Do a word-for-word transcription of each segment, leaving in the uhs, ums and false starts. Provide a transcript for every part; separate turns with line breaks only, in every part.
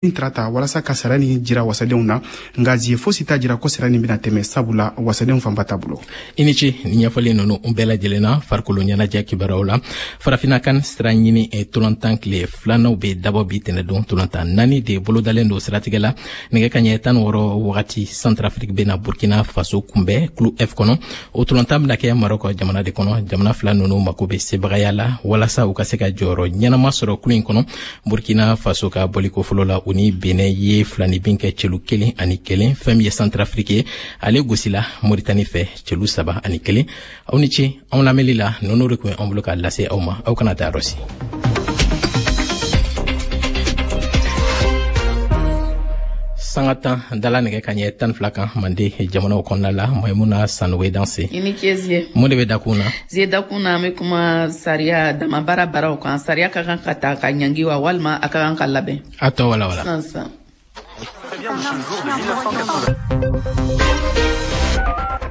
Tarata walasa ka sara nin jira wasadenw na, nka zie fosi t'a jira ko sara nin bɛna tɛmɛ, sabula wasadenw fanba t'a bolo.
I ni ce ni ɲɛfɔli ninnu bɛɛ lajɛlen na. Farikolo ɲɛnajɛ kibaruyaw la, Farafina kan sira ɲini tolantan tile filananw bɛ dabɔ bi tɛnɛdon. Tolantan naani de bolodalen don. Siratigɛ la, nɛgɛ ka ɲɛ tan wɔɔrɔ wagati, Centrafrique bɛna Burkina Faso kunbɛn kulu F kɔnɔ. O tolantan bɛna kɛ Marɔkɔ jamana de kɔnɔ. Jamana fila ninnu mako bɛ sebagaya la walasa u ka se ka jɔyɔrɔ ɲɛnama sɔrɔ kulu in kɔnɔ. Burkina Faso ka bɔliko fɔlɔ la, u ni Benin ye filanibin kɛ celu kelen ani kelen. Fɛn min ye Centrafrique ye, ale gosila Moritani fɛ celu saba ani kelen. Aw ni ce anw lamɛnli la. Ninnu de tun ye an bolo k'a lase aw ma. Aw kana taa yɔrɔ si. Sanga tan dala nɛgɛ ka ɲɛ tan fila kan Mande jamanaw kɔnɔna la. Maimuna Sanogo, danse.
I ni ce, Zie.
Mun de bɛ dakun na?
Zie, dakun na, an bɛ kuma sariya damabaara baaraw kan. Sariya ka kan ka ta ka ɲangi wa, walima a ka kan ka labɛn?
A tɔ wala wala.
Sisan sisan.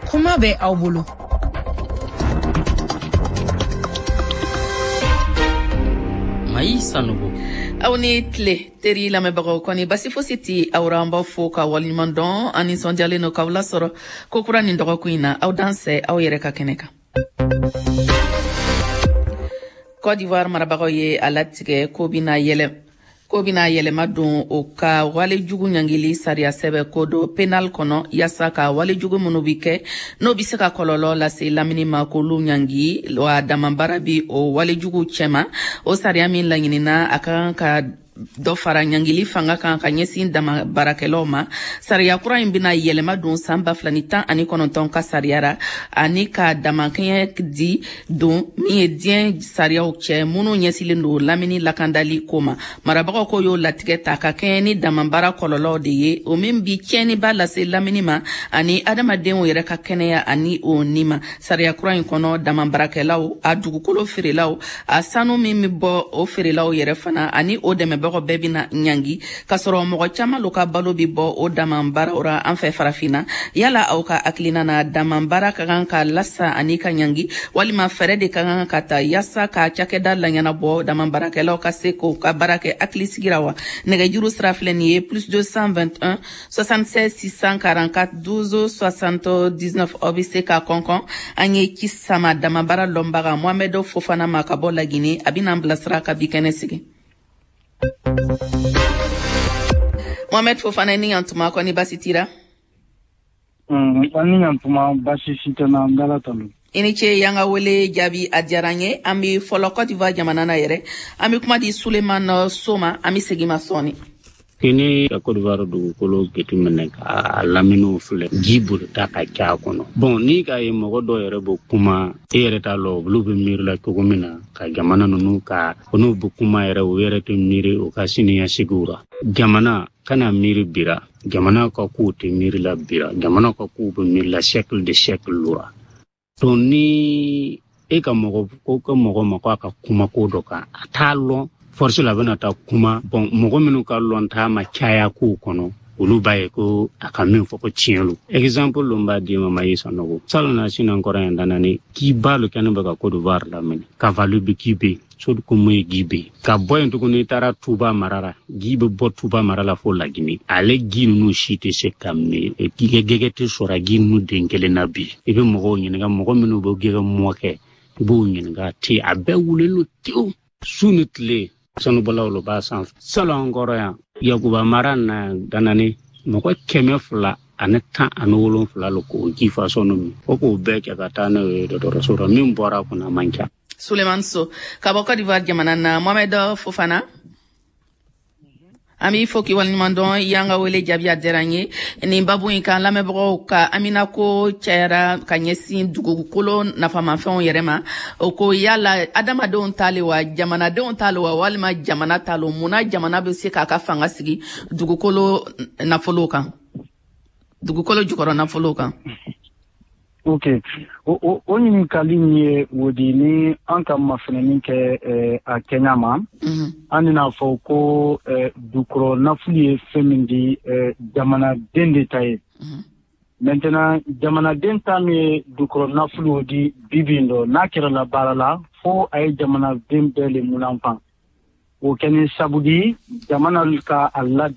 Kuma bɛ aw bolo.
Mayi Sanogo.
Aw ni tile, teri lamɛnbagaw. Kɔni basi fosi ti aw ra, an b'aw fo ka waleɲuman dɔn. An nisɔndiyalen no k'aw lasɔrɔ ko kura nin dɔgɔkun in na. Aw dansɛ aw yɛrɛ ka kɛnɛ kan. Côte d'Ivoire marabagaw ye a latigɛ ko bina yɛlɛ ko bina yɛlɛma don o ka walejugu ɲangili sariya sɛbɛ code pénal kɔnɔ, yaasa ka walejugu minnu bi kɛ, n'o bi se ka kɔlɔlɔ lase lamini ma, k'olu ɲangi wa damabaara bi o walejugu cɛma. O sariya min laɲinina, a ka kan ka dɔ fara ɲangili fanga kan ka ɲɛsin dama baarakɛlaw ma. Sariya kura in bena yɛlɛma don san ba fila ni tan ani kɔnɔntɔn ka sariya ra, ani ka damakɛɲɛ di don min ye diɲɛ sariyaw cɛ minnu ɲɛsilen don lamini lakandali ko ma. Marabagaw ko y'o latigɛ ta ka kɛɲɛ ni damabaara kɔlɔlɔw de ye, o min bi tiɲɛniba lase lamini ma ani adamadenw yɛrɛ ka kɛnɛya ani o ni ma. Sariya kura in kɔnɔ, damabaarakɛlaw, a dugukolo feerelaw, a sanu min bɛ bɔ o feerelaw yɛrɛ fana ani o dɛmɛbagaw bɛɛ bɛna ɲangi, k'a sɔrɔ mɔgɔ caman lo ka balo bi bɔ o dama baaraw ra an fɛ Farafinna. Yala aw ka hakilina na, dama baara ka kan ka lasa ani ka ɲangi, walima fɛɛrɛ de ka kan ka ta yaasa ka cakɛda laɲɛnabɔ, dama baarakɛlaw ka se k'o ka baara kɛ hakili ra wa? Nɛgɛjuru sira filɛ nin ye: plus deux cent vingt et un soixante-seize six cent quarante-quatre douze soixante-dix-neuf. Aw bɛ se ka kɔnkɔn. An ye ci sama dama baara lɔnbaga Mohamɛd Fofana ma ka bɔ Lagine. A bɛna an bilasira ka bi kɛnɛ sigi. Mohamed Fofana, ni yantuma. Kɔni basi tira?
An ni yantuma, basi si tɛ na, n b'Ala tanu.
I ni ce y'an ka wele jaabi, a diyara n ye. An bɛ fɔlɔ Côte d'Ivoire jamana na yɛrɛ. An bɛ kuma di Suleman So ma. An bɛ segin ma sɔɔni.
Kini ka Côte d'Ivoire dugukolo jateminɛ ka laminiw filɛ, ji bolita ka ca a kɔnɔ. Bon, ni ka ye mɔgɔ dɔw yɛrɛ bɛ kuma, e yɛrɛ t'a lɔn olu bɛ miiri la cogo min na ka jamana ninnu ka n'u bɛ kuma yɛrɛ, u yɛrɛ tɛ miiri u ka siniɲɛsigiw ra. Jamana kana miiri bira, jamana ka kow tɛ miiri la bira, jamana ka kow bɛ miiri la siècle de siècle ra. Donc ni e ka mɔgɔ ko ka mɔgɔ ma ko a ka kuma ko dɔ kan, a t'a lɔn force la, a bɛna taa kuma. Bon, mɔgɔ minnu ka lɔn t'a ma caya kow kɔnɔ, olu b'a ye ko a ka min fɔ ko tiɲɛ lo. Exemple lo n b'a d'i ma, Mayi Sanogo, salon na sinan kɔrɔ yan danani k'i ba lo kɛnɛ bɛ ka Côte d'Ivoire lamini Kavalu bɛ k'i bɛ sodi ko mun ye ji bɛ ka bɔ yen tuguni. I taara Tuba mara la, ji bɛ bɔ Tuba mara la fo Lagini. Ale ji ninnu si tɛ se ka min, gɛgɛ tɛ sɔrɔ ji ninnu den kelen na. Bi i bɛ mɔgɔw ɲininka, mɔgɔ minnu bɛ gɛgɛ mɔ kɛ, i b'o ɲininka te, a bɛɛ wulilen don tewu su ni tile. Sanubɔlaw lo b'a sanfɛ. Salon an kɔrɔ yan, Yakuba mara na danani, mɔgɔ kɛmɛ fila ani tan ani wolonfila lo k'o ji fasɔn min fo k'o bɛɛ kɛ ka taa n'o ye dɔgɔtɔrɔso la. Min bɔra a kɔnɔ, a man ca.
Suleman So ka bɔ Côte d'Ivoire jamana na. Mohamed Fofana, an b'i fo k'i waleɲuman dɔn. I y'an ka wele jaabi, a diyara n ye. Nin babu in kan, lamɛnbagaw ka aminako cayara ka ɲɛsin dugukolo nafamafɛnw yɛrɛ ma. O ko yala adamadenw ta le wa, jamanadenw ta le wa, walima jamana ta lo? Munna jamana bɛ se k'a ka fanga sigi dugukolo nafolow kan, dugukolo jukɔrɔ nafolow kan?
Ok, o o o ɲininkali min ye o di, ni an ka mafɛnɛni kɛ eh, a kɛɲa ma, an bɛna fɔ ko eh, dukɔrɔ nafolo ye fɛn min di, eh, jamanaden de ta ye. Maintenant, jamanaden ta min ye dukɔrɔ nafolo di, bi bi in dɔ n'a kɛra la baara la, fo a ye jamanaden bɛɛ le munanfan. O kɛ ni sabu di jamana ka a ladɛn.